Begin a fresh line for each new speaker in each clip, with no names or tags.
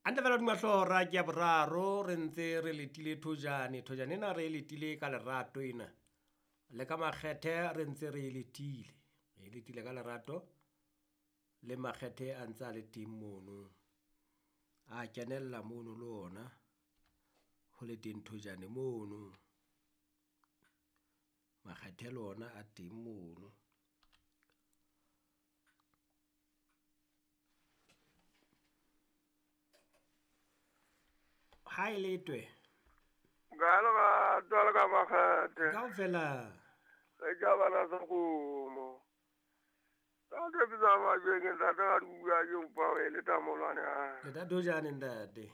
Hantle fela hodima hlooho hora ke ya boraro re ntse re letile thojane. Thojane ena re e letile ka lerato ena. Le ka makgethe re ntse re e letile. Re e letile ka lerato le makgethe a ntse a le teng mono. A kenella mono le ona ho le teng thojane mono. Makgethe le ona a teng mono. Ha e letwe.
Ka lerato le ka makgethe.
Kaofela.
Re ka bana sa kgomo. Ntate Pitsa Majweng, ntate ga di bua ke kopa o e leta molwane a.
Le ta thojane ntate.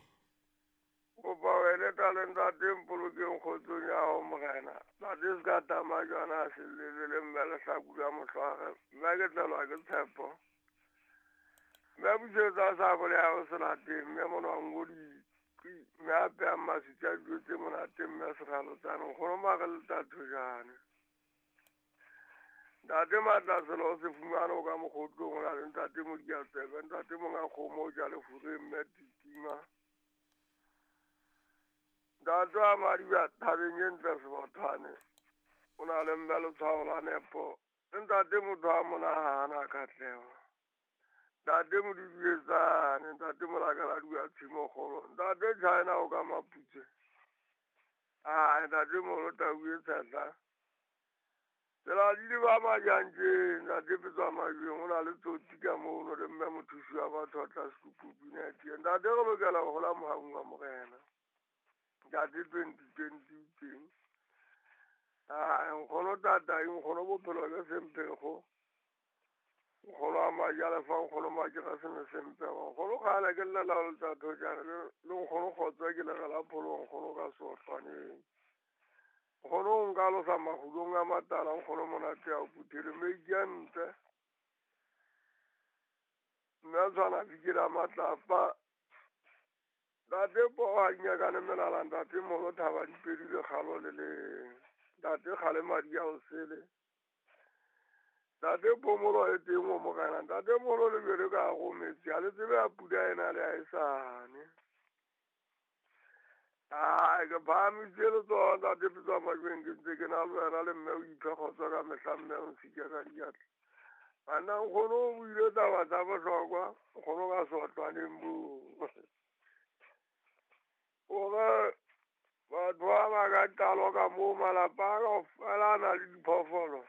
Kopa o e leta le ntate mpolokeng kgotsong ya hao morena. Ntate se ka tama jwana a sellele le mme lehlaku la mohlware. Mme ke tlelwa ke tshepo. Mme busetsa sabole ya hao selateng, mme monwang o di mme a peyang maswitsi a dijo tse monate mme seralotsane nkgono mare le tla thojane. Ntate Matlaselo o se fumane o ka mokgotlong o na le ntate Modiatsebe, ntate monga kgomo o ja lefureng mme Titima. Ntate wa Madiba thabeng e ntle Sebothwane o na le mme letshwao la nepo. Le ntate motho a monahana katleho. Ntate Modidietsane, ntate Molakala dua tshimokgolo, ntate China o ka Maputse. Ah, ntate Molo tau e tshehla. Tsela di le ba majantjeng, ntate Petswa Majweng, o na le tsotsi ka mono le mme mothusi wa batho a tla sekupu pina teng. Ntate re lokela ho hola mohaung wa morena. Ntate 2020 teng. Ah, nkgono tata, nkgono bophelo ke semphego. Nkgono a majalefa, nkgono majera sene semphego. Nkgono kgale ke llela ho letsa thojane, le nkgono kgotso ke legela pholo, nkgono ka sohlwaneng. Nkgono o nka losa makgulong a matala, nkgono monate a o phuthele, meiki a ntle. Mme a tshwana fikela matlapa. Ntate poho ha di nyakane melala, ntate molo thaba di pedi le kgalo le leng. Ntate kgale madi a o sele. Ntate phomolo e teng o morena, ntate molo le bele ka hare ho metsi, ha le tsebe ya pula ena le ha e sane. Ai, ke phahamisitse letsoho ntate Pitsa Majweng, ke ntse ke na le wena le mme o iphe kgotso ka mehla mme o nsike ka diatla. Banna nkgono o buile taba tsa bohlokwa, nkgono ka sotlwaneng boo. Hore batho ba ba ka qalo ka moo malapa a kaofela a na le diphoofolo.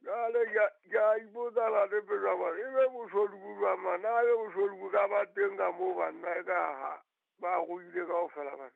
Jwale ke a ipotsa ntate Pitsa Majweng, ebe boshodu bo jwang man? Na ebe boshodu bo ka ba teng ka moo banna e ka ha ba ruile kaofela bana?